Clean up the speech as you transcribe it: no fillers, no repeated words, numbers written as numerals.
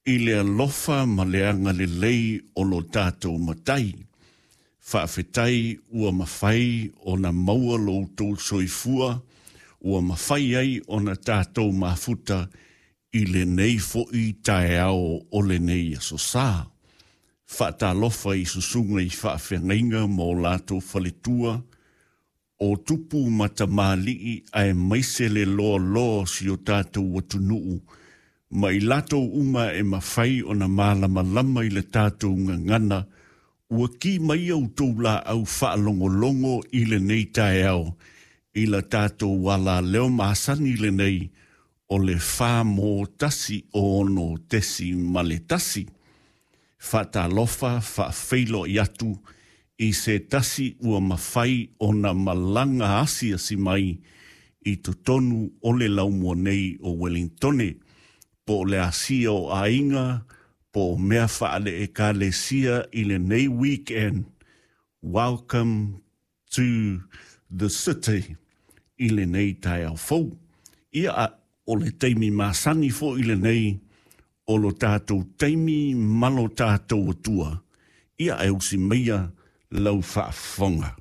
i le alofa ma le agalelei o lo tatou Matai. Faafetai ua mafai ona maua lo outou soifua ua mafai ai ona tatou mafuta i lenei foi taeao o lenei aso Sa. Faatalofa i susuga i faafeagaiga ma o latou faletua, o tupu ma tamalii aemaise le loaloa o si o tatou atunuu ma i latou uma e mafai ona malamalama i le tatou gagana, ua ki mai outou laau faalogologo i lenei taeao i la tatou alaleo masani lenei o le 416.1. Faatalofa faafeiloai atu i se tasi ua mafai ona malaga asiasi mai i totonu o le laumua nei o Wellingtone, po o le asia o aiga, po o mea faale-ekalesia i lenei weekend. Welcome to the city i lenei taeao fou. Ia, o le taimi masani foi lenei o lo tatou taimi ma lo tatou Atua. Ia, e usi maia lau faafofoga.